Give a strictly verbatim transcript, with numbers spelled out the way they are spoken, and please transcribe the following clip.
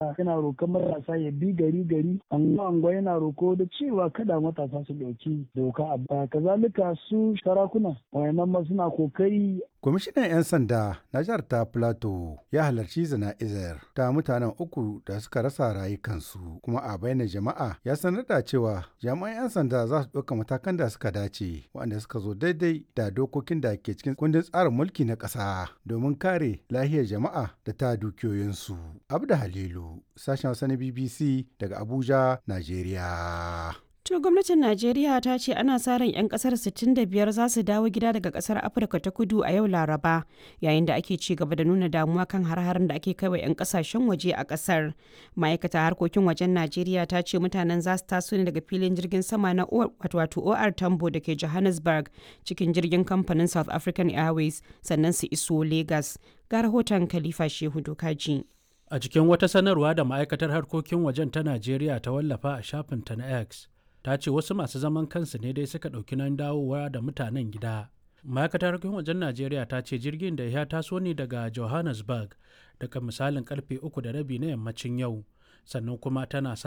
Yana roƙon matasa ya bi gari gari, anguwa anguwa, yana roko da cewa kada matasa su ɗauki doka a kazalika su sarakuna wayannan ma suna kokari. Kwamishinan 'yan sanda na jihar ta Plateau ya halarci zana'izar ta mutanen uku da suka rasa rayukansu, kuma a bainar jama'a ya sanar da cewa jami'an 'yan sanda za su ɗauka matakan da suka dace waɗanda suka zo daidai da dokokin da ke cikin kundin tsarin mulki na ƙasa domin kare lahiyar jama'a da ta dukiyoyinsu. Abda Halilu, sashen Hausa na B B C daga Abuja, Najeriya. To, gwamnatin Najeriya ta ce ana sa ran 'yan kasar sittin da biyar za su dawo gida daga kasar Afirka ta Kudu a yau Laraba, yayin da ake ci gaba da nuna damuwa kan har-haren da ake kaiwa 'yan kasashen waje a kasar. Ma'aikata harkokin wajen Najeriya ta ce mutanen za su taso ne daga filin jirgin sama na wato O R Tambo da ke Johannesburg cikin jirgin kamfanin South African Airways, sannan su iso Lagos. Ga rahoton Khalifa Shehu Dokaji. A cikin wata sanarwa da ma'aikatar harkokin wajen ta Najeriya ta wallafa a shafinta na X, ta ce wasu masu zaman kansu ne dai suka ɗauki nan dawowa da mutanen gida. Ma'aikatar harkokin wajen Najeriya ta ce jirgin da ya taso ne daga Johannesburg daga misalin karfe uku da rabi na yammacin yau, sannan kuma tana sa